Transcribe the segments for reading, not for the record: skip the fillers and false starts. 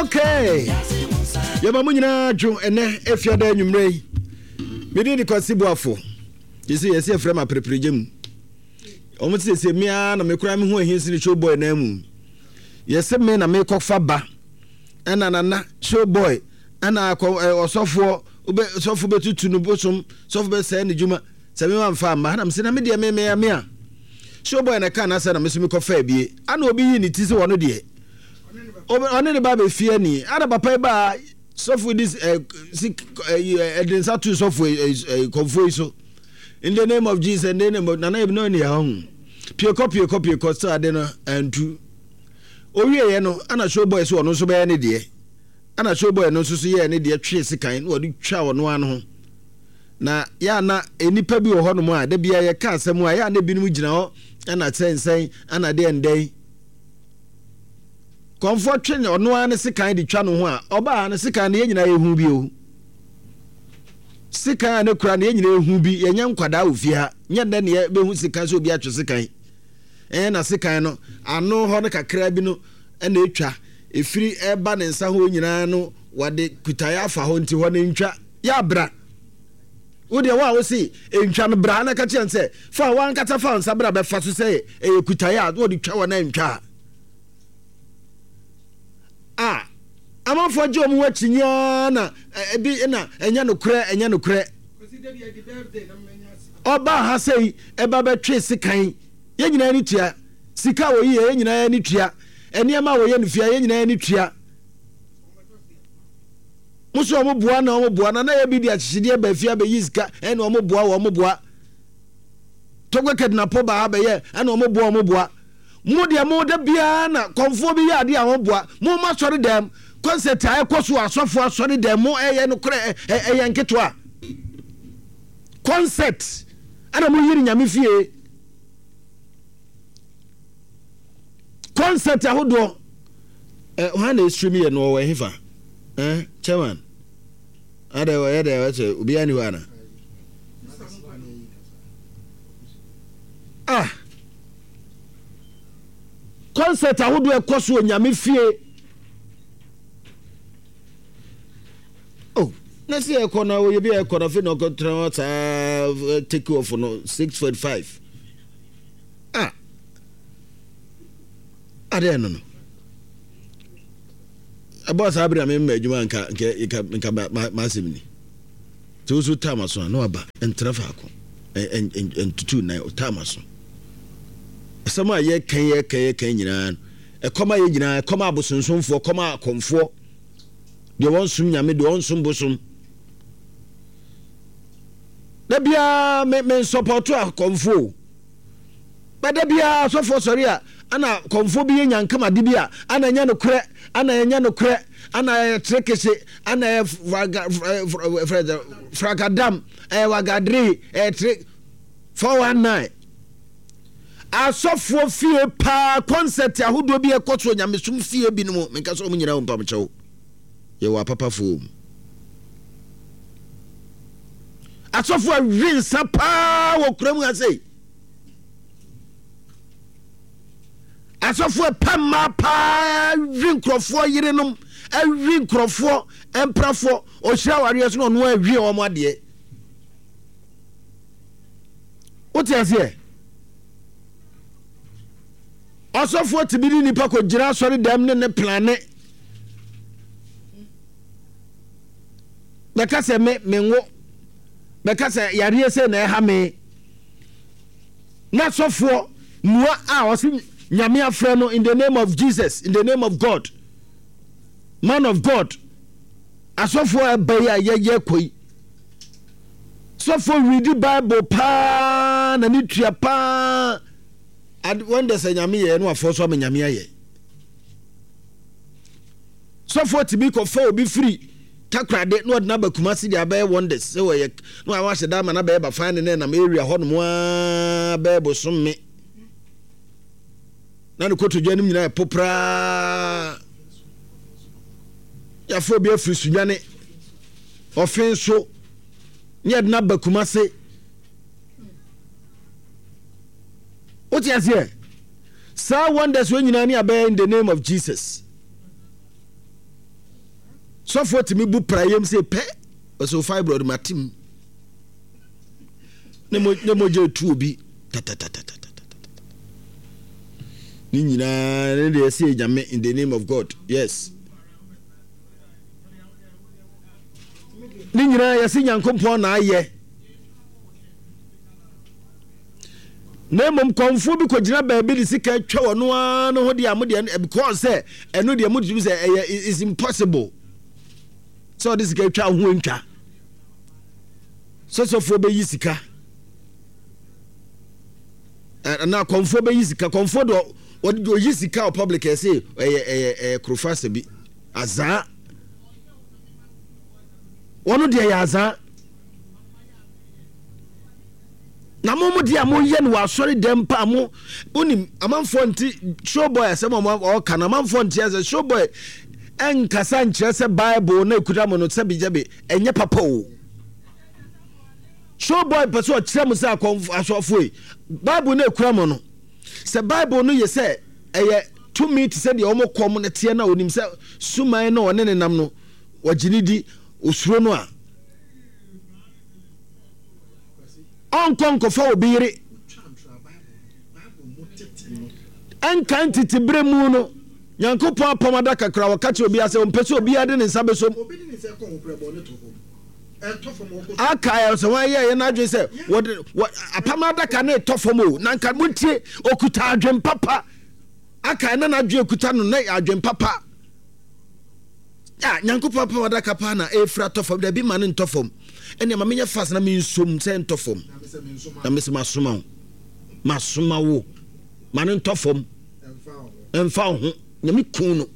Okay. Yɛma mo nyinaa dwo ɛnɛ afiada anwummerɛ yi. Mede de Kwasi Boafo. Yɛsɛ yɛsɛ yɛfrɛ ma aprepregya mu. Wɔn sɛ sɛ mmea na mekura me ho ahi sene show boy na mu. Yɛsɛ me na mekɔfa ba. Ɛna nana show boy ɛna akɔ ɔsɔfoɔ wobɛ sɔfo bɛtutu no bosom sɔfo bɛsɛe ne dwuma sɛ me wamfa amma na mesɛ na me deɛ me me me a show boy na ɛka n'asɛ na me so mekɔfa abie ana obi yi ne ti sɛ ɔno deɛ ɔne ne ba bɛfie ani ana papa yi baa sɔfo di ɛ si ɛ ɛde nsa to sɔfo ɛ kɔnfoɔ yi so in the name of Jesus in the name of nana ebi na ɔne ɛhɔ ho piekɔ piekɔ piekɔ sɛ ade no antu owieɛ no ana show boy so ɔno nso bɛyɛ ne deɛ Ɛna showboy no nso so yɛɛ ne deɛ twee sekan na ɔde twaa ɔno ara no ho. Na yɛ a na nnipa bi wɔ hɔnom a da biara yɛka asɛm a yɛ a na ebinom gyina hɔ ɛna sɛnsɛn ɛna deɛ ndɛn. Kɔmfoɔ twe ɔno ara ne sekan de twa no ho a ɔbaa no sekan no yɛn nyinaa yɛhu bi o. Sekan a ne kura no yɛn nyinaa yɛhu bi, yɛnyɛ nkwadaa wɔ fie ha. Nyɛ nnɛ ne yɛbɛhu sekan sɛ obi atwe sekan. Ɛɛ na sekan no ano hɔ no kakra bi no ɛna etwa. Ɛfiri ɛreba ne nsa hɔ nyinaa no wɔde kutaeɛ afa hɔ nti hɔ no ntwa. Yɛ abra. Wo deɛ wo a wose ntwa no bra na ka kyerɛ no sɛ fa w'ankasa fa nsa bra bɛfa so sɛ ɛyɛ kutaeɛ a na wɔde twa hɔ na ntwa a. A amanfoɔ gye wɔn ho akyinnye ara na ebi na ɛnyɛ nokorɛ ɛnyɛ nokorɛ. Ɔbaa ha sɛ ɛba bɛtwe sekan yɛn nyinaa ani tua sika a wɔyi yɛ yɛn nyinaa ani tua nneɛma a wɔyɛ no fie a yɛn nyinaa ani tua mo so wɔn boa na wɔn boa na na yɛ bi de akyekyedeɛ ba fie abɛyi sika ɛna wɔn boa wɔn boa tɔgbɛ kɛdinapɔ ba ha bɛyɛ ɛna wɔn boa wɔn boa mo deɛ mo da biara na kɔnfoɔ bi yɛ adeɛ a wɔn boa mo ma asɔre dɛm kɔnsɛt a ɛkɔ so asɔfo asɔre dɛm mo ɛyɛ no korɛ ɛyɛ nketewa kɔnsɛt ɛna mo yiri nyame fie. Concert ahodoɔ eh, hwan na ɛstream yɛ no ɔwɔ ɛhefa eh, chairman adɛ ɔyɛ dɛ ɔsɛ obiara ni hɔ ana ah concert ahodoɔ ɛkɔ so onyame fie oh na sɛ ɛkɔ na ɔyɛ bi a ɛkɔ na afei na ɔkɔtena hɔ saa take off no 6:45 Ah! Adeɛ no no. Ɛbɔɔ saa bere a memma adwuma nka nka nka nka m'asɛm ni. Sɛ woso taa m'aso a na waba ntena faako. Ntutu nan ɔtaa m'aso. Asɛm a yɛka yɛka yɛka nyinaa no ɛkɔm a yɛ nyinaa ɛkɔm a abosonsomfoɔ ɛkɔm a akɔmfoɔ deɛ wɔnsom nyame deɛ wɔnsom bosom. Da biara me me nsɔpɔto akɔmfoɔ o. Ba da biara asɔfoɔ sɔre a ana kɔmfoɔ bi yɛ nyankam ade bi a ana ɛnyɛ nokorɛ ana ɛnyɛ nokorɛ ana ɛyɛ trekese ana ɛyɛ fragadam ɛyɛ wagadere ɛyɛ tre 419 asɔfoɔ fie paa kɔnsɛt ahodoɔ bi ɛkɔ so nyamesom fie binom menka sɛ ɔmo nyinaa mpamkyɛw yɛwɔ apapafoɔ mu asɔfo awe nsa paa wɔ kura mu ha sei asɔfo ɛpɛ mmaa paa awe nkurɔfoɔ yerenom awe nkurɔfoɔ mprafoɔ ɔhyira awareɛ so na ɔno awie wɔn adeɛ wote aseɛ ɔsɔfoɔ tumi de nipa kɔgyina asɔre dɛm ne ne plane bɛka sɛ me menwo bɛka sɛ yareɛ sɛ na ɛha me na sɔfoɔ mua a ɔse nyame afrɛ no in the name of Jesus in the name of God man of God asɔfoɔ ɛba yi a yɛyɛ kɔ yi sɔfoɔ redi bible paa na ne tua paa wɔn dɛ sɛ nyame yɛ no afɔ so ama nyame ayɛ Sɔfoɔ tumi kɔfa obi firi Takorade na ɔde no aba Kumasi de abɛyɛ wonders sɛ wɔyɛ na wahyɛ da ama no abɛyɛ bafan ne ne nam area hɔ nom aa bɛyɛ bosome na ne kotodwe anim nyinaa ɛpo praa yɛafa obi afiri Sunyane. Ɔfe nso ne yɛde no aba Kumase. Wote aseɛ? Saa wonders wɔ nyinaa ne abɛyɛ in the name of Jesus. Sɔfoɔ tumi bu prayam sɛ pɛ ɔsɛ fibroid matem ne mogya etu obi tatatatatata ne nyinaa ne deɛ ɛsɛ nyame in the name of God yes ne nyinaa yɛsɛ nyankopɔn na ayɛ na mmom kɔnfoɔ bi kɔgyina baabi de sika atwa wɔn ara no ho deɛ a mo deɛ because sɛ ɛno deɛ mo tumi sɛ ɛyɛ is impossible sɛ ɔde sika atwa ho ntwa sɛ sɔfoɔ bɛyi sika anaa kɔnfoɔ bɛyi sika kɔnfoɔ deɛ ɔde ɔyi sika wɔ public ɛsɛ ɛyɛ ɛyɛ ɛyɛ korofa asɛ bi azaa wɔn deɛ yɛ azaa. Na mo mo deɛ a moyɛ no wɔ asɔre dɛm pa mo wonim amanfoɔ nte showboy asɛm a ɔka no amanfoɔ nte asɛ showboy ɛnkasa nkyerɛ sɛ bible na ɛkuta mo no sɛbi gyɛbi ɛnyɛ papa o showboy pɛ sɛ ɔkyerɛ mo sɛ akɔmfo asɔfoɔ yi bible na ɛkura mo no sɛ bible no yɛ sɛ ɛyɛ tumi te sɛ deɛ wɔn kɔm no teɛ na onim sɛ suman na ɔne ne nam no wɔgye ne di osuro no a Ɔnkɔ nkɔfa obi yere. Ɛnka ntete berɛ mu no, Nyankopɔn apam adaka kora wɔka kyerɛ obiara sɛ ɔmpɛ sɛ obiara de ne nsa bɛsom. Aka sɛ wɔn ayɛ yɛn adwene sɛ wɔde wɔ apam adaka no retɔ fam o na nka montie okuta adwene papa aka na n'adwene okuta no na adwene papa. Ah, Nyankopɔn apam adaka paa na ɛrefiri atɔ fam. Dabi ma no ntɔ fam. Ɛnneɛ ma menyɛ fast na mensom sɛ ntɔ fam. Na mese masoma wo. Masoma wo. Ma no ntɔ fam. Ɛmfa wo ho. Nyame kun no.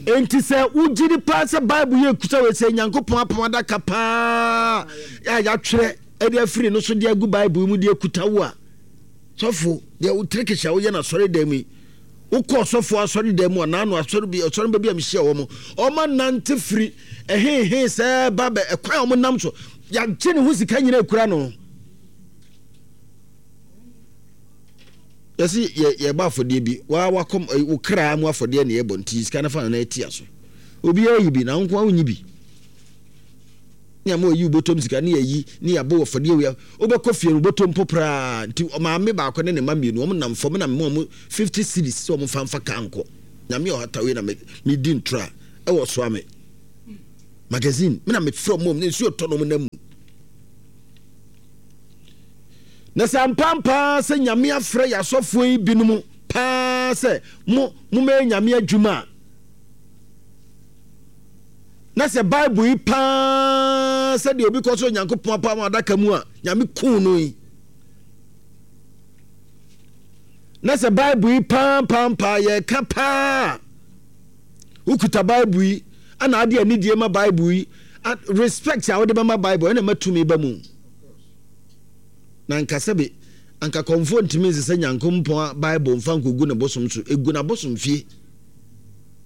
Enti sɛ wogye di paa sɛ Bible yɛ kusa wei sɛ Nyankopɔn apam adaka paa a yɛatwerɛ de afiri no so de agu Bible mu de akuta wo a, sɔfo, deɛ wo trikis a woyɛ no asɔre dan mu yi, Wokɔ ɔsɔfoɔ asɔredan mu a, naano asɔre bi asɔremba bi a mehyia wɔn, wɔn anante firi ɛhehe sɛ ba bɛ ɛkwan a wɔn nam so, yɛagye ne ho sika nyina ekura no. Yɛsi yɛ yɛbɔ afɔdeɛ bi, waa wakɔm wo kra mu afɔdeɛ na yɛbɔ nti sika no fa na ɛtia so. Obiara yi bi na wo nko ara wonyi bi. Ne ama oyi wobɔtɔm sika ne yɛyi ne yɛabɔ wɔ fɔdeɛ wia wobɛkɔ fie no wobɔtɔm mpo praa nti maame baako ne ne mma mmienu wɔn nam fam na mema wɔn 50 cedis sɛ wɔn fa mfa kaa nkɔ nyame ɔhata wei na medi ntora ɛwɔ soa me magazine me na mefrɛ wɔn ne nsuo tɔ no wɔn nam mu na sɛ ampampaa sɛ nyame afrɛ yɛ asɔfoɔ yi binom paa sɛ mo momɛyɛ nyame adwuma a Na sɛ Bible yi paa sɛdeɛ obi kɔ so Onyankopɔn apam adaka mu a Nyame kuu no yi. Na sɛ Bible yi paa paa paa yɛka paa wokuta Bible yi ana ade anidie ma Bible yi respect a wode bɛma Bible ɛna ma tumi ba mu. Na nka sɛbe anka kɔmfoɔ ntumi nsesɛ Nyankopɔn Bible mfa nkɔgu ne bosom so egu n'abosom fie.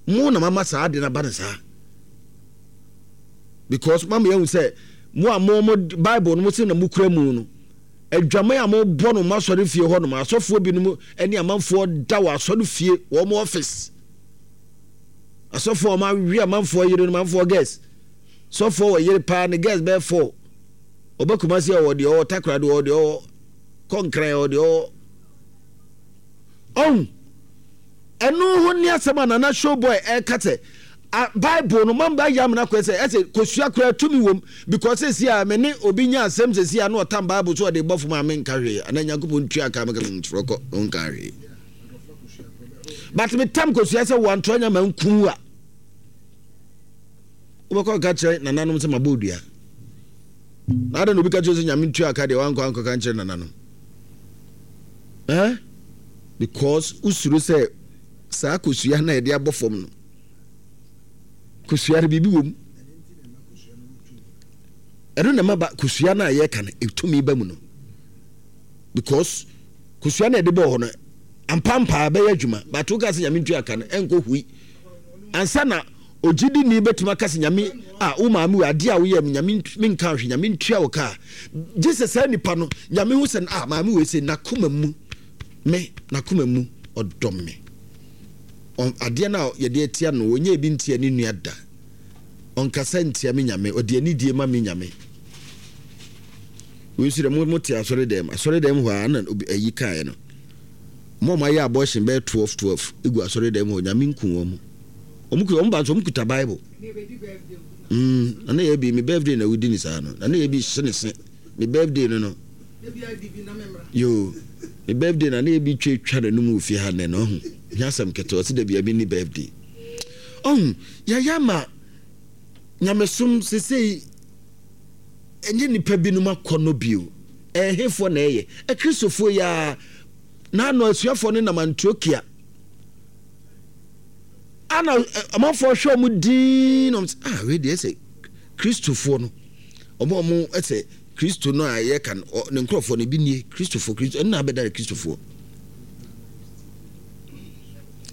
Mo na mama saa ade no aba no saa. Because mama yɛahu sɛ mo a mo mo Bible no mo se na mokura mu no, adwaman a mobɔ no mo asɔre fie hɔ nom, asɔfoɔ binom ne amanfoɔ da wɔ asɔre fie wɔn office. Asɔfoɔ a wɔawe amanfoɔ yere no, amanfoɔ girls. Sɔfoɔ wɔ yere paa ne girls bɛyɛ four. Ɔba Kumasi ɔwɔ deɛ ɔwɔ Takoradi ɔwɔ deɛ ɔwɔ Kɔnkran ɔwɔ deɛ ɔwɔ. Ɔn. Ɛno ho ne asɛm a Nana Showboy ɛka sɛ Bible no mamba yɛ amena kɔɛ sɛ ɛsɛ kosua koraa tumi wom because sɛsi a me ne obi nya asɛm sɛsi a na ɔtam Bible so ɔde bɔ fam a menka hwee ana Nyankopɔn ntua ka meka nkyerɛ kɔ ɔnka hwee but metam kosua sɛ wɔantoa nya ma nku a wobɛkɔ ka kyerɛ nananom sɛ mabɔ odua na adɛn na obi ka kyerɛ sɛ Nyame ntua ka deɛ wankɔ ankɔka nkyerɛ nananom Eh? Because wosuro sɛ saa kosua no a yɛde abɔ fam no, kosua no biribi wɔ mu. Ɛno na ɛma ba kosua no a yɛka no ɛtumi ba mu no. Because kosua no a yɛde bɔɔ hɔ no ampampaa bɛyɛ adwuma but woka sɛ nyame ntua ka no ɛnkɔ hui ansa na. Ogyidini bɛtumi aka sɛ Nyame a wo maame wei adeɛ a woyɛ me Nyame menka hwee Nyame ntua wo ka gye sɛ saa nipa no Nyame hu sɛ ah maame wei sɛ n'akoma mu me n'akoma mu ɔdɔ me adeɛ no a yɛde atia no ɔnyɛ ebi ntia ne nua da ɔnkasa ntia me Nyame ɔde anidie ma me Nyame wei nso dɛ mo te asɔre dɛm asɔre dɛm hɔ a na ayi kaeɛ no mo a moayɛ abortion bɛyɛ 12 12 egu asɔre dɛm hɔ Nyame nku wɔn mo. Wɔn kuta wɔn ba nso wɔn kuta bible. Mm, na ne yɛ bi me birthday na wodi ne saa no. Na ne yɛ bi hye ne se. Me birthday no no. Yo, me birthday na ne yɛ bi twa twa n'anum wɔ fie ha nnɛ no ɔho. Hia asɛm ketewa ɔsi da bi a mi ni birthday. Ɔho, yɛyɛ ama nyamesom sesei ɛnyɛ nipa binom akɔ no bio. Ɛhefoɔ na ɛyɛ? Akristofoɔ yi ara. Na ano asuafoɔ no nam Antiokia. Ana amanfoɔ hwɛ wɔn dinn na wɔn sɛ ah wei deɛ sɛ kristofoɔ no wɔn a wɔn sɛ kristo no a yɛka no ne nkurɔfoɔ no ebi nie kristofoɔ kristo ɛnna abɛda ne kristofoɔ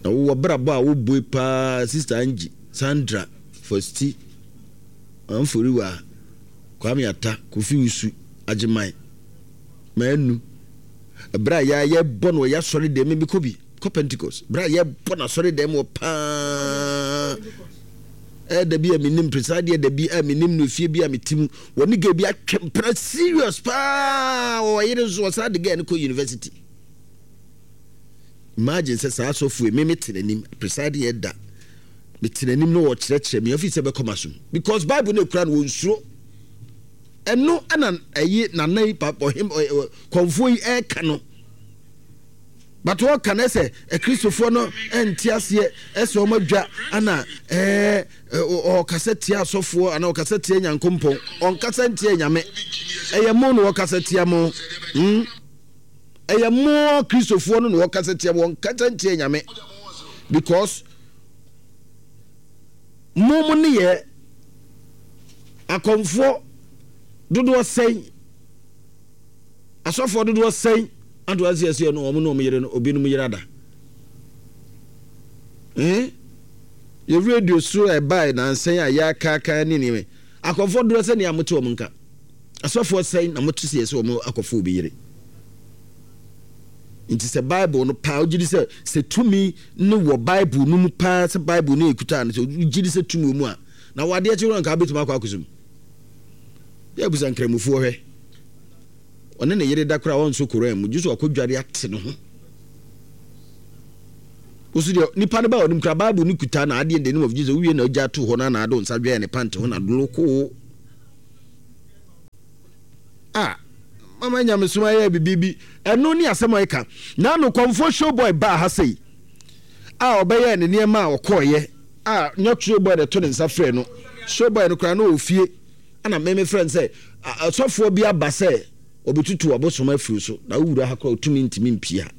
na wowɔ brabɔ a wobue paa sista Angie Sandra Fosti Amforiwa Kwame Ata Kofi Wusu Agyeman Manu ɛberɛ a yɛbɔ no wɔ yɛasɔre deɛ mebɛkɔ bi kɔ Pentecost berɛ a yɛbɔ no asɔre dɛm wɔ paa ɛda bi a menim presaa deɛ da bi a menim no efie bi a mete mu wɔne gay bi atwe mpena serious paa wɔwɔ yere nso wɔsan de gay no kɔ university imagine sɛ saa asɔfo yi me mete n'anim presiding ɛda mete n'anim no wɔkyerɛkyerɛ me afi sɛ bɛkɔ ma so because bible no ekura no wɔnsuro ɛno ɛna ɛyi nana yi ɔhem kɔnfoɔ yi ɛɛka no But wɔka no sɛ akristofoɔ no nte aseɛ ɛsɛ wɔn adwa ana ɛɛ ɔkasa tia asɔfoɔ ana ɔkasa tia nyankompɔn ɔnkasa ntia nyame ɛyɛ mo na wɔkasa tia mo hmm ɛyɛ mo kristofoɔ no na wɔkasa tia mo wɔnkasa ntia nyame because mo mo ne yɛ akɔmfoɔ dodoɔ sɛn Asɔfoɔ dodoɔ sɛn ato ase ɛsɛ no wɔn ne wɔn yere no obinom yere ada eh yɛ radio so ɛbae nansɛn a yɛakaaka ne nneɛma akɔfoɔ dodoɔ sɛ nea mote wɔn nka asɔfoɔ sɛn na mote sɛ yɛsɛ wɔn akɔfo obi yere nti sɛ bible no paa wogye di sɛ sɛ tumi no wɔ bible no mu paa sɛ bible no ɛkuta no sɛ wogye di sɛ tumi wɔ mu a na wadeɛ kye wɔ nka wobɛtumi akɔ akɔsum yɛ abusa nkramofoɔ hwɛ Ɔne ne yere da koraa a ɔnsɔ Koran mu, gye sɛ wakɔdware ate ne ho. Wosu deɛ nipa no ba ɔnim koraa Bible no kuta na adeɛ in the name of Jesus wowie na ogya to hɔ na na ado nsa dwɛɛ ne pant ho na dolokoo. Ah, mama nyamesom ayɛ bibi bi ɛno ne asɛm a ɛka. Na no kɔmfoɔ showboy baa ha sei a ɔbɛyɛɛ ne nneɛma a ɔkɔɔyɛ a nyɛ showboy na ɛto ne nsa frɛ no. Showboy no koraa na ɔwɔ fie. Ɛna me mefrɛ no sɛ, Ɔsɔfoɔ bi aba sɛ ɔbɛtutu abosom afiri so, na wowura ha koraa ɔtumi ntumi mpie ha.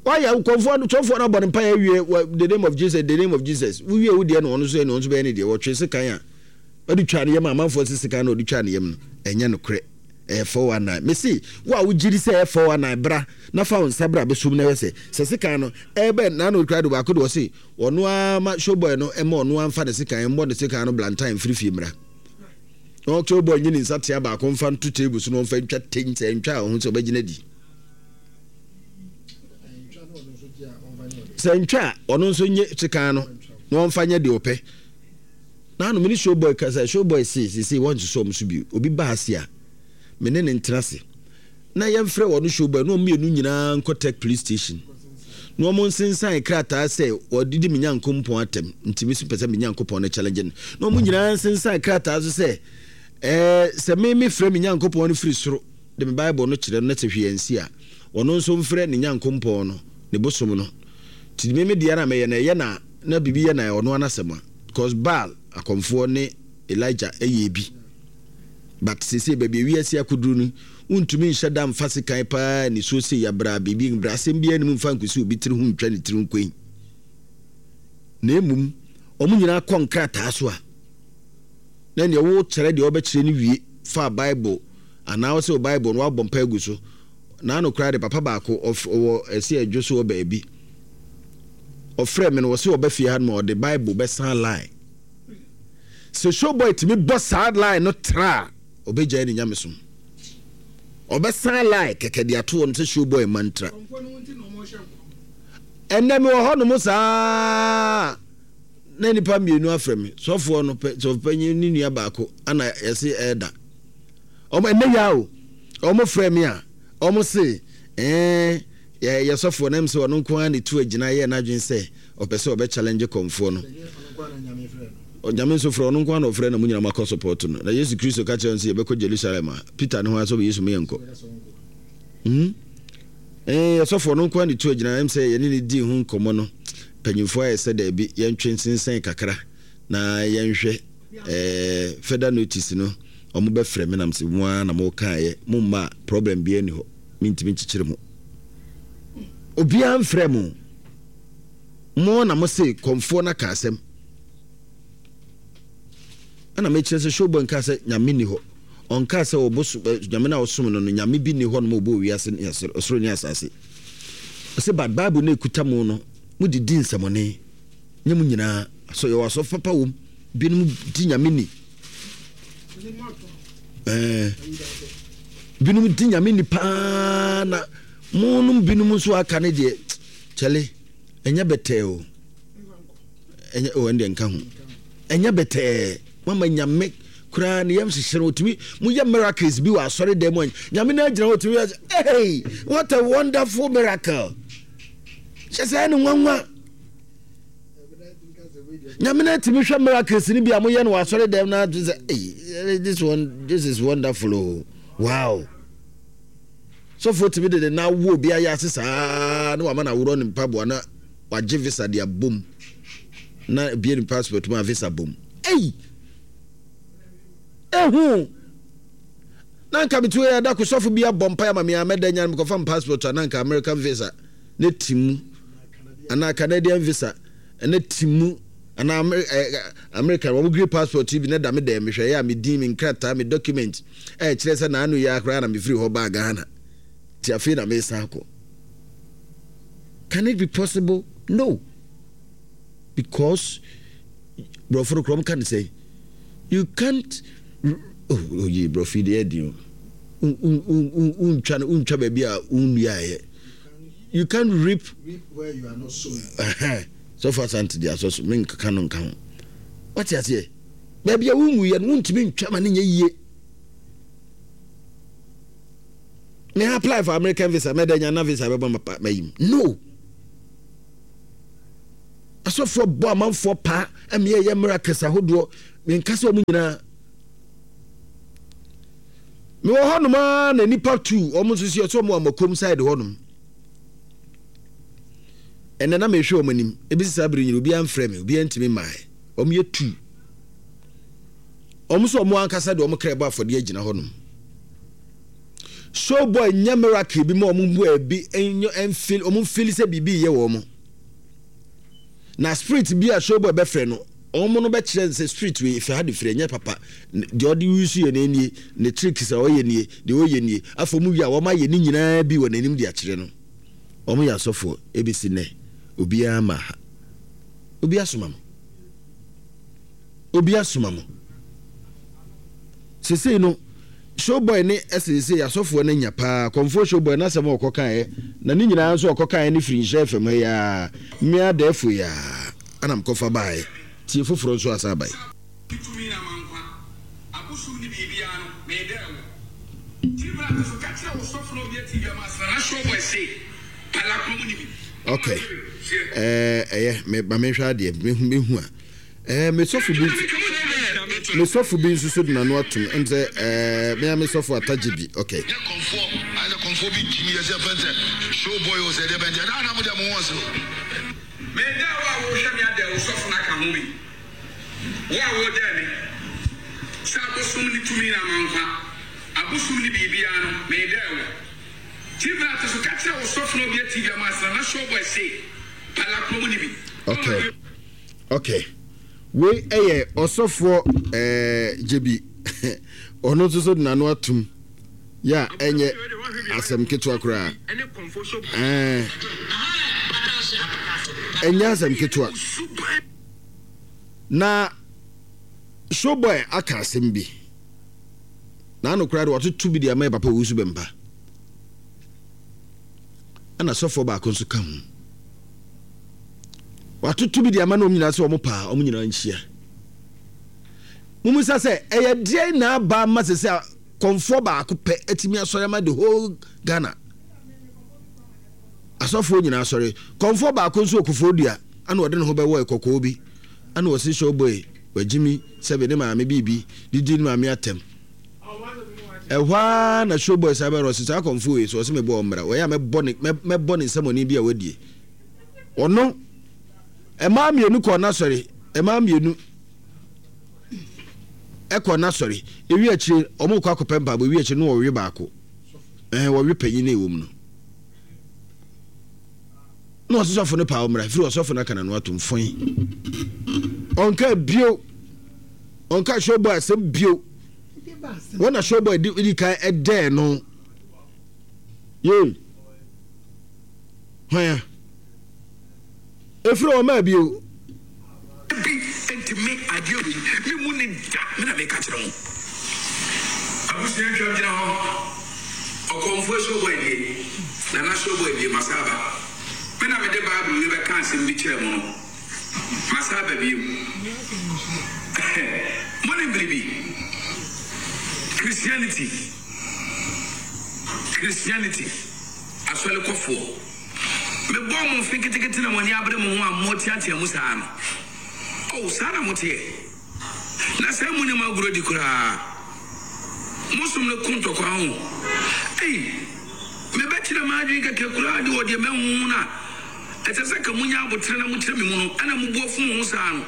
Wayɛ nkɔmfoɔ no sɔfoɔ no abɔ ne mpaeɛ awie the name of Jesus, the name of Jesus. Wowie wo deɛ na ɔno nso yɛ ne ɔno nso bɛyɛ ne deɛ. Wɔtwe sekan a ɔde twa ne yam a amanfoɔ se sekan na ɔde twa ne yam no ɛnyɛ nokorɛ. Ɛyɛ 419. Mese wo a wogye di sɛ ɛyɛ 419 bra na fa wo nsa bra bɛsom na hwɛ sɛ sɛ sekan no ɛbɛn na ano kura de baako de ɔse Ɔno ara ma showboy no mma ɔno ara mfa ne sekan mmɔ ne sekan no blantan mfiri fie mmra. Na showboy nyi ne nsatea baako mfa nto table so na ɔmfa ntwa ten sɛ ntwa a ɔho sɛ ɔbɛgyina di. Sɛ ntwa a ɔno nso nye sekan no na ɔmfa nyɛ deɛ ɔpɛ. Na ano me ne showboy kasa showboy se sese wɔnsosɔ ɔmo so bio obi ba ase a me ne ne ntena ase. na yɛmfrɛ wɔn showboy na wɔn mmienu nyinaa nkɔ Tech police station na wɔn nsensan krataa sɛ wɔdidi me Nyankompɔn atɛm nti me so pɛ sɛ me Nyankopɔn no challenge no na wɔn nyinaa nsensan krataa so sɛ ɛɛ sɛ me me frɛ me Nyankopɔn no firi soro de me Bible no kyerɛ no na sɛ hwee ansi a ɔno nso mfrɛ ne Nyankompɔn no ne bosom no nti me me deɛ na mɛyɛ na ɛyɛ na na biribi yɛ na ɔno anasɛm a because Baal akɔmfoɔ ne Elijah ɛyɛ bi. But seesei baabi a wiase akoduru no, wontumi nhyɛ da mfa sekan paa nisuo sei abra biribi mbra asɛm biara nnim mfa nkosi obi tiri ho ntwa ne tiri nkoin. Na mmom wɔn nyinaa kɔ nkrataa so a, na nea wokyerɛ deɛ wɔbɛkyerɛ no wie fa Bible anaa wɔsɛ wo Bible no wabɔ mpa agu so. Na ano koraa de papa baako ɔwɔ ɛsɛ adwo so wɔ baabi. Ɔfrɛɛ me no, ɔse ɔba fie ha nom a ɔde Bible bɛsan line. Sɛ Showboy tumi bɔ saa line no tra a, ɔbɛgyae ne nyamesom. Ɔbɛsan line kɛkɛ de ato hɔ no sɛ Showboy mma ntra. Ɛnnɛ mewɔ hɔ nom saa na nnipa mmienu afrɛ me, sɔfoɔ no pɛ, sɔfopanyin ne nua baako ana yɛse ɛɛda. Ɔmo ɛnnɛ yi ara o, ɔmo frɛ me a, ɔmo se ɛɛ yɛ yɛ sɔfoɔ no ɛm sɛ ɔno nko ara na etu agyina yɛɛ n'adwene sɛ ɔpɛ sɛ ɔbɛ challenge kɔmfoɔ no. Onyame nso frɛ ɔno nko ara na ɔfrɛ na mo nyinaa mo akɔ support no. Na Yesu Kristo ka kyerɛ no sɛ yɛbɛkɔ Jerusalem a, Peter ne ho ara sɛ ɔbɛ Yesu mo yɛnkɔ. Hmm? Ɛɛ yɛ sɔfoɔ no nko ara na etu agyina ɛm sɛ yɛne no dii ho nkɔmmɔ no, mpanyinfoɔ ayɛ sɛ daabi yɛntwe nsensɛn kakra na yɛnhwɛ. Eh further notice no ɔmo bɛ frɛ me na mese mo ara na mo kaeɛ mo mma a problem biara nni hɔ mentumi nkyekyere mo. Obiara mfrɛ mo. Mo na mo se kɔmfoɔ no aka asɛm. Ɛna mekyerɛ sɛ showboy nkaa sɛ nyame nni hɔ. Ɔnkaa sɛ ɔbosom nyame no a ɔsom no no nyame bi nni hɔ nom a ɔbɔɔ wiase ne ɔsoro ne asase. Ɔse but bible no ekuta mo no mo de di nsɛmɔne. Nyɛ mo nyinaa. So yɛwɔ asɔfo papa wom. Binom di nyame ni. Ɛɛ binom di nyame ni paa na mo nom binom nso aka ne deɛ kyɛle ɛnyɛ bɛtɛɛ o. Ɛnyɛ o ɛndeɛ nka ho. Ɛnyɛ bɛtɛɛ. Mama nyame koraa ne yam hyehyɛ no otumi mo yɛ miracles bi wɔ asɔre dan mu a nyame no agyina hɔ otumi yɛ hey what a wonderful miracle. Kyɛ sɛ ɛne nwanwa. Nyame no atumi hwɛ miracles no bi a moyɛ no wɔ asɔre dɛm no ato sɛ hey, this one this is wonderful oh wow sɔfoɔ tumi de ne nan wo obi ayɛ ase saa na wama no aworɔ ne mpaboa na wagye visa de abom na bie ne passport mu a visa bom ei ehu na nka metu yɛ da ko sɔfo bi abɔ mpaeɛ ama me a mɛda nya no mekɔfa passport a na nka American visa ne ti mu anaa Canadian visa ne ti mu anaa American wɔn green passport yi bi na da me dɛm mehwɛ yɛ a me din me nkrataa me document ɛkyerɛ sɛ naano yi akora na mefiri hɔ baa Ghana ti afei na mesan akɔ. Can it be possible? No. Because borɔfo no korɔm ka ne sɛ you can't oh, oh yi borɔfo yi deɛ ɛdi o wontwa no wontwa baabi a wonnuaeɛ you can't reap where you are not sowing. Sɔfo Asante de asɔ so menkeka no nka ho. Wate aseɛ? Baabi a wonwuiɛ no wontumi ntwa ma no nyɛ yie. Me apply for American visa mɛda nya na visa bɛbɔ ma mayim. No. Asɔfoɔ bɔ amanfoɔ paa ɛmeɛ yɛ miracles ahodoɔ menka sɛ ɔmo nyinaa Mewɔ hɔnom ara na nnipa tu wɔn nso si ɛsɛ wɔn amakom side hɔnom. Ɛnɛ na mehwɛ wɔn anim. Ebi saa bere nyina obiara mfrɛ me, obiara ntumi mmae. Wɔn yɛ tu. Wɔn nso wɔn ankasa de wɔn kra bɔ afɔdeɛ agyina hɔnom. Showboy nyɛ miracle bi ma wɔn mu ebi ɛnfil wɔn mfili sɛ biribi yɛ wɔn. Na spirit bi a showboy bɛfrɛ no, wɔn no bɛkyerɛ no sɛ spirit wei efi ha de firi ɛnyɛ papa. Deɛ ɔde use yɛ no nie, ne tricks a ɔyɛ nie, deɛ ɔyɛ nie. Afei wɔn wie a wɔn ayɛ ne nyinaa bi wɔ n'anim de akyerɛ no. Wɔn yɛ asɔfoɔ ebesi nnɛ obiara mmaa ha. Obi asoma mo. Obi asoma mo. Sesei no, Showboy ne ɛsɛ sesei asɔfoɔ no anya paa. Kɔmfoɔ Showboy n'asɛm a ɔkɔ kaeɛ, na ne nyinaa nso ɔkɔ kaeɛ no firi Nhyira FM ha yi ara, mmea adɛɛfoɔ yi ara ɛna mekɔfa baeɛ. Tie foforɔ nso asan aba yi. Tumi na ma nkwa. Abosom ne biribiara no, meedɛɛ wo. Tiri bra to so ka kyerɛ wo sɔfo na obi ati bi ama asena na Showboy se pala kuro mu ni bi. Okay. Ɛɛ ɛyɛ me ma menhwɛ adeɛ mehu mehu a. Ɛɛ me sɔfo bi me sɔfo bi nso so de n'ano atom ɛm sɛ ɛɛ me a me sɔfo atagye bi okay. Nyɛ kɔmfoɔ ayɛ sɛ kɔmfoɔ bi gyimi yɛ sɛ fɛn sɛ show boy o sɛ deɛ bɛn deɛ na na mo deɛ mo ho ɔsoro. Me dɛ wo a wo hwɛ me adɛ wo sɔfo no aka ho bi wo a wo dɛ me sɛ abosom ne tumi na ama nkwa abosom ne biribiara no me dɛ wo TV na to so ka kyerɛ wo sɔfo na obia TV ama asena na show boy se pala kuro mu ne bi. Okay. Ok wei yɛ ɔsɔfoɔ ɛɛ gyebi ɔno nso so de n'ano atum yɛ a ɛnyɛ asɛm ketewa koraa ɛɛ. Ɛnyɛ asɛm ketewa. Na Showboy aka asɛm bi. N'ano koraa de watoto bi de ama yɛ papa Owusu Bɛmpa. Ɛna sɔfoɔ baako nso ka ho. Watoto bi de ama na wɔn nyinaa sɛ wɔn paa wɔn nyinaa nhyia. Mumisa sɛ ɛyɛ deɛn na aba ama sɛ sɛ kɔnfoɔ baako pɛ atumi asɔre ama the whole Ghana. Asɔfoɔ nyinaa asɔre. Kɔnfoɔ baako nso wɔ Kofoɔ Dua ɛna ɔde ne ho bɛwɔɛ kɔkɔɔ bi ɛna ɔse showboy wagyimi sɛbe ne maame biribi de di ne maame atɛm. Ɛhɔ ara na showboy san bɛrɛ ɔse saa kɔnfoɔ wei so ɔse mebɔ ɔmmra wɔyɛ a mɛbɔ ne mɛbɔ ne nsɛmɔne bi a wadie. Ɔno ɛmaa mmienu kɔɔ n'asɔre ɛmaa mmienu ɛkɔɔ n'asɔre ewi akyire wɔn kɔ akɔpɛ mpaabɔ ewi akyire no wɔwe baako ɛhɛn wɔwe panyin na ɛwɔ mu no. Na ɔse sɔfo no paa ɔmmra firi ɔsɔfo no aka n'ano atom foe ɔnka bio ɔnka showboy asɛm bio wɔn na showboy di di kan ɛdɛɛ no yee hwan a Efiri wɔn maa bio. Bi nti me adeɛ wei me mu ni da me na meka kyerɛ mo. Abusua ntwam gyina hɔ ɔkɔmfoɔ showboy nie Nana showboy nie masa aba me na mede bible wei bɛka asɛm bi kyerɛ mo no masa aba bio monim biribi Christianity Christianity asɔre kɔfoɔ. Mebɔɔ mo mfe nketenkete na mo ani abere mo ho a moreteatea mu saa no. Oh, saa na moteɛ. Na sɛɛ munnim agorɔ di koraa. Mo som no ko ntɔkwa ho. Ei, mebɛkyerɛ m'adwene kɛkɛ koraa de wɔ deɛ mahu ho no a, ɛsɛ sɛ ka munya aboterɛ na mokyerɛ me mu no, ɛna mo bo afu mo ho saa no.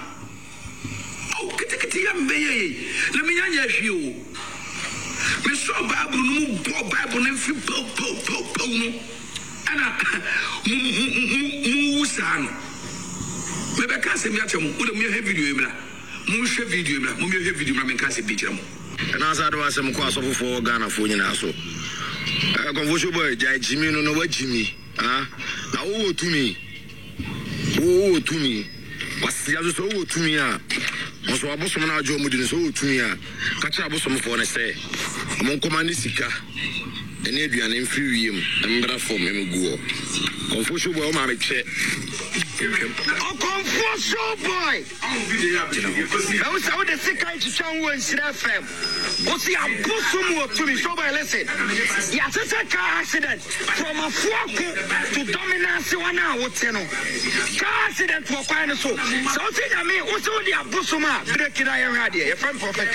Oh, ketekete yi a mebɛyɛɛ yi, na minnya nyɛɛ hwee o. Mesɔɔ Bible no mu bɔɔ Bible no mfe pow pow pow pow no, ɛna mo mo mo mowu saa no. Mebɛka asɛm bi akyerɛ mo. Mo de monhwɛ video yi mmra. Monhwɛ video yi mmra. Monhwɛ video mmra menka asɛm bi nkyerɛ mo. Ɛna asa de w'asɛm kɔ asɔfofoɔ wɔ Ghanafoɔ nyinaa so. Eh, Confucio boy, gyae gyimi no na wagyimi. Ah, na wowɔ tumi. Wo wowɔ tumi. Kwasia nso sɛ wowɔ tumi a, nso abosom no agye wɔn di no sɛ wowɔ tumi a, ka kyerɛ abosomfoɔ no sɛ wɔn nkɔma ne sika ne aduane mfiri wiem mmra fam mmɛgu hɔ. Kɔmfoɔ showboy wo maame kyɛ twam. Ɔkɔmfoɔ showboy. Mahu sɛ wode sekan twitwa ho wɔ Nhyira FM. Wo se abosom wɔ tumi. Showboy listen. Yɛahyehyɛ car accident from Afuako to Dominance hɔ no a wote no. Car accident wɔ kwan no so. Sɛ wose Nyame wose wode abosom a break na yɛnhwɛ adeɛ. Yɛfrɛ me Prophet.